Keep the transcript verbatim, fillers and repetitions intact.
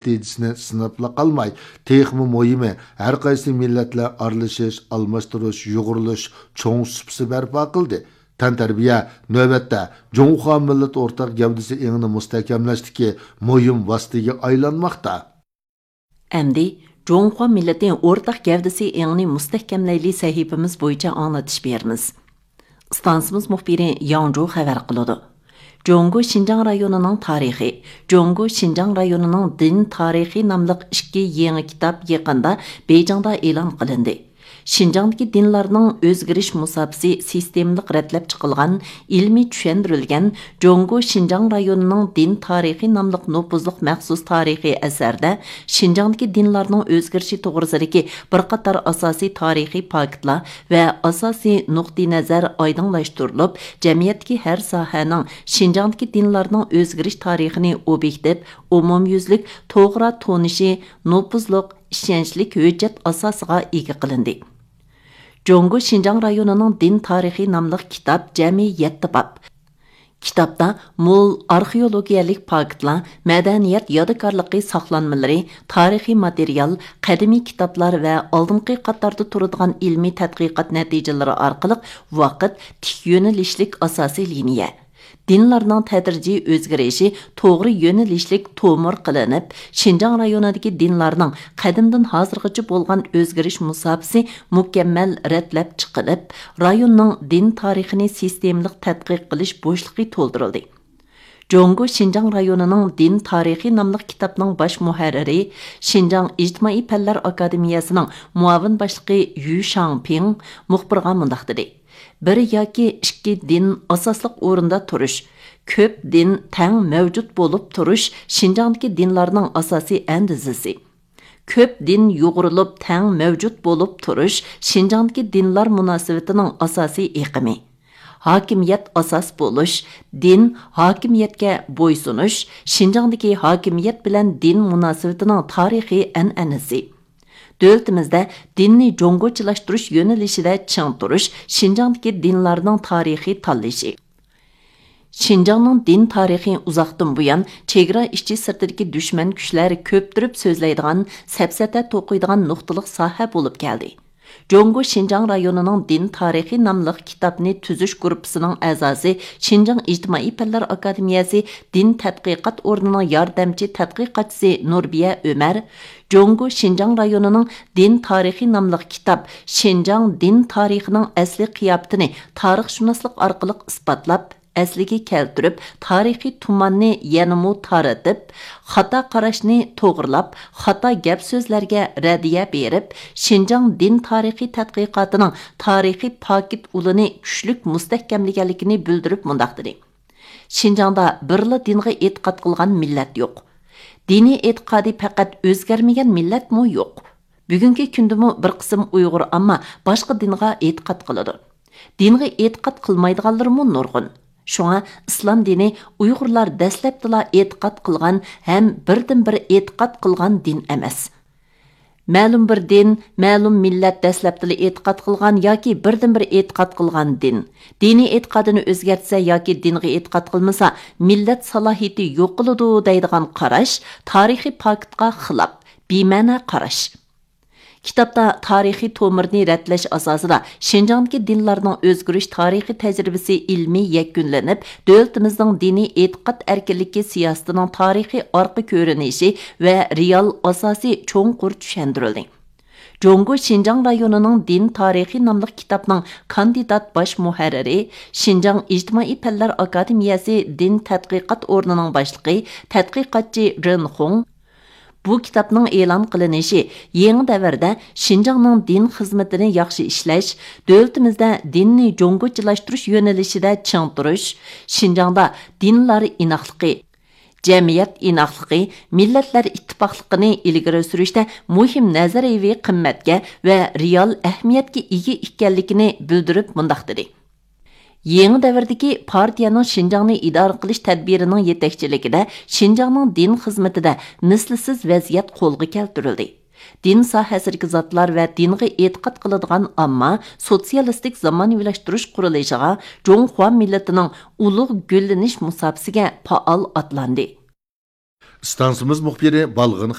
نەتىجىسىنى سىناپلا قالماي، تېخىمۇ مۇھىمى، ھەر قايسى مىللەتلەر ئارىلىشىش، ئالماشتۇرۇش، يۇغۇرۇلۇش چوڭ سۇپىسى بەرپا قىلدى. تەنتەربىيە، نۆۋەتتە، جۇڭخۇا مىللىتى ئورتاق گەۋدىسى ئېڭىنى مۇستەھكەملەشتىكى مۇھىم ۋاسىتىگە ئايلانماقتا. ئەمدى جۇڭخۇا مىللىتى ئورتاق گەۋدىسى ئېڭىنى مۇستەھكەملەيلى سەھىپىمىز بويىچە ئاڭلىتىش بېرىمىز. ئىستانسىمىز مۇخبىرى ياڭجۇ خەۋەر قىلىدۇ. جۇڭگو شىنجاڭ رايونىنىڭ تارىخى، جۇڭگو شىنجاڭ رايونىنىڭ دىن تارىخى ناملىق ئىككى يېڭى كىتاب يېقىندا بېيجىڭدا ئېلان قىلىندى. شىنجاڭدىكى دىنلارنىڭ ئۆزگىرىش مۇساپىسى سىستېمىلىق رەتلەپ چىقىلغان، ئىلمىي چۈشەندۈرۈلگەن جۇڭگو شىنجاڭ رايونىنىڭ دىن تارىخى ناملىق نوپۇزلۇق مەخسۇس تارىخىي ئەسەردە شىنجاڭدىكى دىنلارنىڭ ئۆزگىرىشى توغرىسىدىكى بىر قاتار ئاساسىي تارىخىي پاكىتلار ۋە ئاساسىي نۇقتىئىنەزەر ئايدىڭلاشتۇرۇلۇپ، جەمئىيەتتىكى ھەر ساھەنىڭ شىنجاڭدىكى دىنلارنىڭ ئۆزگىرىش تارىخىنى ئوبيېكتىپ، ئومۇميۈزلۈك، توغرا تونۇشى، نوپۇزلۇق، ئىشەنچلىك ھۆججەت ئاساسىغا ئىگە قىلىندى. جۇڭگو شىنجاڭ رايونىنىڭ دىن تارىخى ناملىق كىتاب جەمئىي يەتتە باب. كىتابتا مول ئارخېئولوگىيەلىك پاكىتلار، مەدەنىيەت يادىكارلىقى ساقلانمىلىرى، تارىخىي ماتېرىيال، قەدىمىي كىتابلار ۋە ئالدىنقى قاتاردا تۇرىدىغان ئىلمىي تەتقىقات نەتىجىلىرى ئارقىلىق ۋاقىت تىك يۆنىلىشلىك ئاساسىي لىنىيە، دىنلارنىڭ تەدرىجىي ئۆزگىرىشى توغرا يۆنىلىشلىك تومۇر قىلىنىپ، شىنجاڭ رايونىدىكى دىنلارنىڭ قەدىمدىن ھازىرغىچە بولغان ئۆزگىرىش مۇساپىسى مۇكەممەل رەتلەپ چىقىلىپ، رايوننىڭ دىن تارىخىنى سىستېمىلىق تەتقىق قىلىش بوشلۇقى تولدۇرۇلدى. جۇڭگو شىنجاڭ رايونىنىڭ دىن تارىخى ناملىق كىتابنىڭ باش مۇھەررىرى، شىنجاڭ ئىجتىمائىي پەنلەر ئاكادېمىيەسىنىڭ مۇئاۋىن باشلىقى يۈ شاڭپىڭ مۇخبىرغا مۇنداق دېدى: بىر ياكى ئىككى دىن ئاساسلىق ئورۇندا تۇرۇش، كۆپ دىن تەڭ مەۋجۇت بولۇپ تۇرۇش شىنجاڭدىكى دىنلارنىڭ ئاساسىي ئەندىزىسى. كۆپ دىن يۇغۇرۇلۇپ تەڭ مەۋجۇت بولۇپ تۇرۇش شىنجاڭدىكى دىنلار مۇناسىۋىتىنىڭ ئاساسىي ئېقىمى. ھاكىمىيەت ئاساس بولۇش، دىن، ھاكىمىيەتكە بويسۇنۇش شىنجاڭدىكى ھاكىمىيەت بىلەن دىن مۇناسىۋىتىنىڭ تارىخىي ئەنئەنىسى. دۆلىتىمىزدە دىننى جۇڭگوچىلاشتۇرۇش يۆنىلىشىدە چىڭ تۇرۇش شىنجاڭدىكى دىنلارنىڭ تارىخىي تاللىشى. شىنجاڭنىڭ دىن تارىخى ئۇزاقتىن بۇيان چېگرا ئىچى سىرتىدىكى دۈشمەن كۈچلەر كۆپتۈرۈپ سۆزلەيدىغان، سەپسەتە توقۇيدىغان نۇقتىلىق ساھە بولۇپ كەلدى. جۇڭگو شىنجاڭ رايونىنىڭ دىن تارىخى ناملىق كىتابنى تۈزۈش گۇرۇپپىسىنىڭ ئەزاسى، شىنجاڭ ئىجتىمائىي پەنلەر ئاكادېمىيەسى دىن تەتقىقات ئورنىنىڭ ياردەمچى تەتقىقاتچىسى نۇربىيە ئۆمەر، جۇڭگو شىنجاڭ رايونىنىڭ دىن تارىخى ناملىق كىتاب شىنجاڭ دىن تارىخىنىڭ ئەسلىي قىياپىتىنى تارىخشۇناسلىق ئارقىلىق ئىسپاتلاپ، ئەسلىگە كەلتۈرۈپ، تارىخىي تۇماننى يەنىمۇ تارىتىپ، خاتا قاراشنى توغرىلاپ، خاتا گەپ سۆزلەرگە رەددىيە بېرىپ، شىنجاڭ دىن تارىخى تەتقىقاتىنىڭ تارىخىي پاكىت ئۇلىنى كۈچلۈك مۇستەھكەملىگەنلىكىنى بىلدۈرۈپ مۇنداق دېدى: شىنجاڭدا بىرلا دىنغا ئېتىقاد قىلغان مىللەت يوق. دىنىي ئېتىقادى پەقەت ئۆزگەرمىگەن مىللەتمۇ يوق. بۈگۈنكى كۈندىمۇ بىر قىسىم ئۇيغۇر ئامما باشقا دىنغا ئېتىقاد قىلىدۇ. دىنغا ئېتىقاد قىلمايدىغانلىرىمۇ نۇرغۇن. شۇڭا ئىسلام دىنى ئۇيغۇرلار دەسلەپتىلا ئېتىقاد قىلغان ھەم بىردىنبىر ئېتىقاد قىلغان دىن ئەمەس. مەلۇم بىر دىن، مەلۇم مىللەت دەسلەپتىلا ئېتىقاد قىلغان ياكى بىردىنبىر ئېتىقاد قىلغان دىن. دىنىي ئېتىقادىنى ئۆزگەرتسە ياكى دىنغا ئېتىقاد قىلمىسا، مىللەت سالاھىيىتى يوقىلىدۇ دەيدىغان قاراش تارىخىي پاكىتقا خىلاپ، بىمەنە قاراش. كىتابتا تارىخىي تومۇرنى رەتلەش ئاساسىدا شىنجاڭدىكى دىنلارنىڭ ئۆزگىرىش تارىخىي تەجرىبىسى ئىلمىي يەكۈنلىنىپ، دۆلىتىمىزنىڭ دىنىي ئېتىقاد ئەركىنلىكى سىياسىتىنىڭ تارىخىي ئارقا كۆرۈنۈشى ۋە رېئال ئاساسى چوڭقۇر چۈشەندۈرۈلدى. جۇڭگو شىنجاڭ رايونىنىڭ دىن تارىخى ناملىق كىتابنىڭ كاندىدات باش مۇھەررىرى، شىنجاڭ ئىجتىمائىي پەنلەر ئاكادېمىيەسى دىن تەتقىقات ئورنىنىڭ باشلىقى، تەتقىقاتچى رېن خۇڭ، بۇ كىتابنىڭ ئېلان قىلىنىشى يېڭى دەۋردە شىنجاڭنىڭ دىن خىزمىتىنى ياخشى ئىشلەش، دۆلىتىمىزدە دىننى جۇڭگوچىلاشتۇرۇش يۆنىلىشىدە چىڭ تۇرۇش، شىنجاڭدا دىنلار ئىناقلىقى، جەمئىيەت ئىناقلىقى، مىللەتلەر ئىتتىپاقلىقىنى ئىلگىرى سۈرۈشتە مۇھىم نەزەرىيىۋى قىممەتكە ۋە رېئال ئەھمىيەتكە ئىگە ئىكەنلىكىنى بىلدۈرۈپ مۇنداق دېدى: يېڭى دەۋردىكى پارتىيەنىڭ شىنجاڭنى ئىدارە قىلىش تەدبىرىنىڭ يېتەكچىلىكىدە شىنجاڭنىڭ دىن خىزمىتىدە مىسلىسىز ۋەزىيەت قولغا كەلتۈرۈلدى. دىن ساھەسىدىكى زاتلار ۋە دىنغا ئېتىقاد قىلىدىغان ئامما سوتسىيالىستىك زامانىۋىلاشتۇرۇش قۇرۇلۇشىغا جۇڭخۇا مىللىتىنىڭ ئۇلۇغ گۈللىنىش مۇساپىسىگە پائال ئاتلاندى. ئىستانسىمىز مۇخبىرى بالغىن